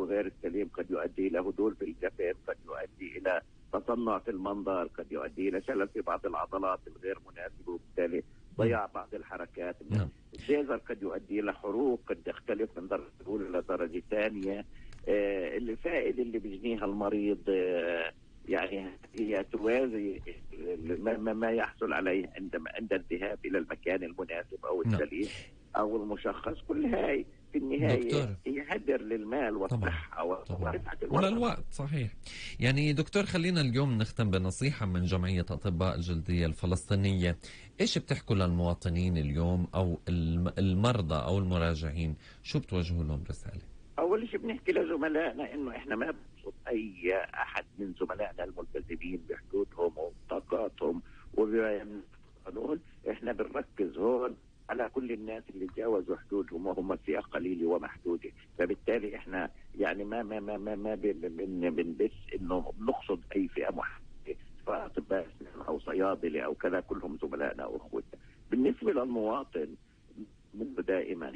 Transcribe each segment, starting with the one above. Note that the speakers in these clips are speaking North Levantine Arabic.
غير السليم قد يؤدي إلى هدول في الجفن، قد يؤدي إلى تصنع في المنظر، قد يؤدي إلى شلل في بعض العضلات الغير مناسبة وبالتالي ضياع بعض الحركات. الليزر قد يؤدي إلى حروق قد تختلف من درجة أولى إلى درجة ثانية. الفائدة اللي بيجنيها المريض يعني هي توازي ما يحصل عليه عند الذهاب إلى المكان المناسب أو السليم أو المشخص. كل هاي في النهاية هي هدر للمال والصحة ورفعة وللوقت. صحيح. يعني دكتور، خلينا اليوم نختم بنصيحة من جمعية أطباء الجلدية الفلسطينية. إيش بتحكوا للمواطنين اليوم أو المرضى أو المراجعين؟ شو بتوجهوا لهم رسالة؟ أول شيء بنحكي لزملائنا إنه إحنا ما بنقصد أي أحد من زملائنا الملتزمين بحدودهم وطاقاتهم وبقانون. إحنا بنركز هون على كل الناس اللي تجاوزوا حدودهم وهم فئة قليلة ومحدودة. فبالتالي إحنا يعني ما بنبث إنه بنقصد أي فئة محدودة، سواء أطباء أو صيادلة أو كذا، كلهم زملائنا وأخوتنا. بالنسبة للمواطن منه دائما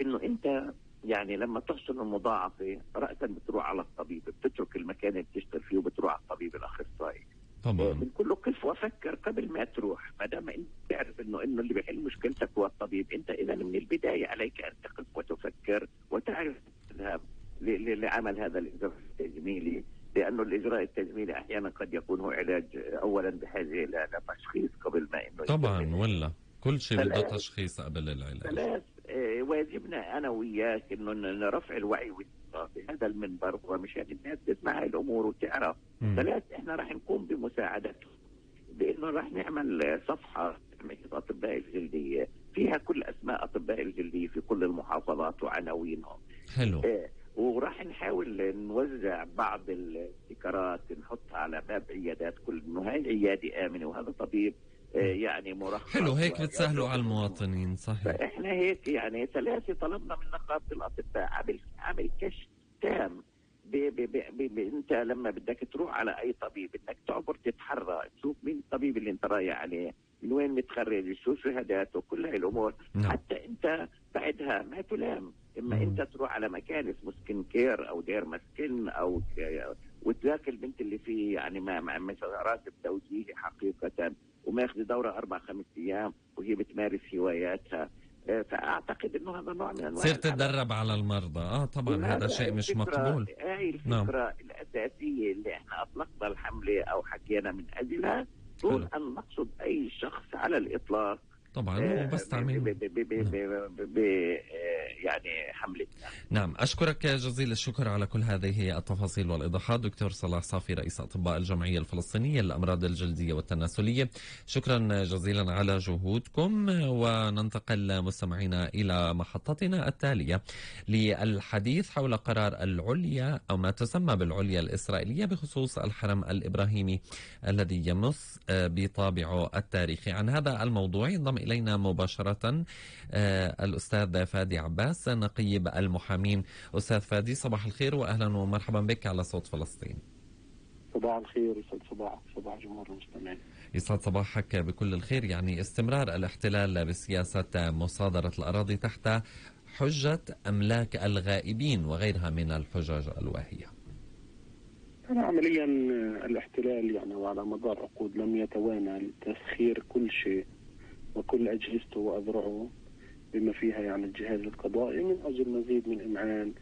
إنه أنت يعني لما تحصل المضاعفة رأسا بتروح على الطبيب، بتترك المكان اللي بتشتغل فيه وبتروح على الطبيب الأخصائي. طبعا بنقول له قف وفكر قبل ما تروح. ما دام انت تعرف انه اللي بيحل مشكلتك هو الطبيب، انت اذا من البداية عليك ان تقف وتفكر وتعرف تذهب لعمل هذا الإجراء التجميلي، لأنه الإجراء التجميلي أحيانا قد يكون هو علاج أولا بحاجة إلى تشخيص قبل ما إنه طبعا، ولا كل شيء بده تشخيص قبل العلاج. واجبنا أنا وياك إنه نرفع الوعي في هذا المنبر ومشان الناس تسمع هاي الأمور وتعرف. ثلاث، إحنا راح نقوم بمساعدته بإنه راح نعمل صفحة جمعية أطباء الجلدية فيها كل أسماء أطباء الجلدية في كل المحافظات وعناوينهم. حلو. وراح نحاول نوزع بعض الذكرات نحطها على باب عيادات، كل إنه هاي عيادة آمنة وهذا طبيب يعني مرخص. حلو، هيك بتسهلوا على المواطنين. صحيح. فإحنا هيك يعني ثلاثة طلبنا من نقابة الأطباء عمل كشف تام. انت لما بدك تروح على اي طبيب انك تعبر تتحرى تشوف مين الطبيب اللي انت رايح عليه، من وين متخرج، شو شهاداته، كل هاي الامور. حتى انت بعدها ما تلام. اما انت تروح على مكان اسمه سكين كير او دير مسكن او وتلاقي البنت اللي فيه يعني ما راتب توجيهي حقيقة وماخذ دورة 4-5 أيام وهي بتمارس هواياتها. فأعتقد إنه هذا نوع من أنواع تصير تتدرب على المرضى. طبعا هذا شيء مش مقبول. هاي الفكرة الأساسية اللي احنا أطلقنا الحملة أو حكينا من أجلها، دون أن نقصد أي شخص على الإطلاق. طبعا وبس تعمل يعني حملتنا. نعم، أشكرك جزيل الشكر على كل هذه التفاصيل والإيضاحات دكتور صلاح صافي، رئيس أطباء الجمعية الفلسطينية للأمراض الجلدية والتناسلية. شكرا جزيلا على جهودكم. وننتقل مستمعينا إلى محطتنا التالية للحديث حول قرار العليا أو ما تسمى بالعليا الإسرائيلية بخصوص الحرم الإبراهيمي الذي يمس بطابعه التاريخي. عن هذا الموضوع ينضم إلينا مباشرة الأستاذ فادي عباس نقيب المحامين. أستاذ فادي، صباح الخير وأهلا ومرحبا بك على صوت فلسطين. صباح الخير، يسعد صباح جمهور المستمعين. يسعد صباحك بكل الخير. يعني استمرار الاحتلال بسياسة مصادرة الأراضي تحت حجة أملاك الغائبين وغيرها من الحجج الواهية. عمليا الاحتلال يعني وعلى مدار عقود لم يتوانى لتسخير كل شيء وكل أجهزته وأذرعه بما فيها يعني الجهاز القضائي من أجل مزيد من إمعان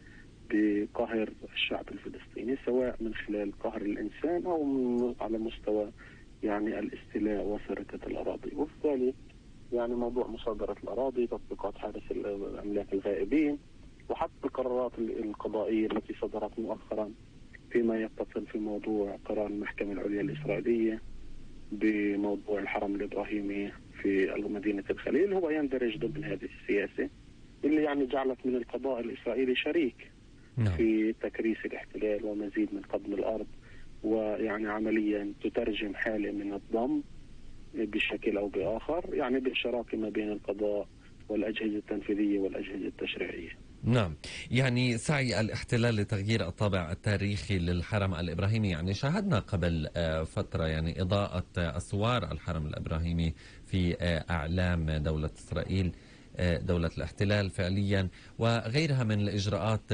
بقهر الشعب الفلسطيني، سواء من خلال قهر الإنسان أو على مستوى يعني الاستيلاء وسرقة الأراضي. وبالتالي يعني موضوع مصادرة الأراضي، تطبيقات حادث الأملاك الغائبين، وحتى القرارات القضائية التي صدرت مؤخرا فيما يتصل في موضوع قرار المحكمة العليا الإسرائيلية بموضوع الحرم الإبراهيمي في مدينة الخليل هو يندرج ضمن هذه السياسة اللي يعني جعلت من القضاء الإسرائيلي شريك في تكريس الاحتلال ومزيد من قضم الأرض، ويعني عمليا تترجم حالة من الضم بشكل أو بآخر يعني بالشراكة ما بين القضاء والأجهزة التنفيذية والأجهزة التشريعية. نعم، يعني سعي الاحتلال لتغيير الطابع التاريخي للحرم الإبراهيمي. يعني شاهدنا قبل فترة يعني إضاءة أسوار الحرم الإبراهيمي في أعلام دولة إسرائيل، دولة الاحتلال فعليا، وغيرها من الإجراءات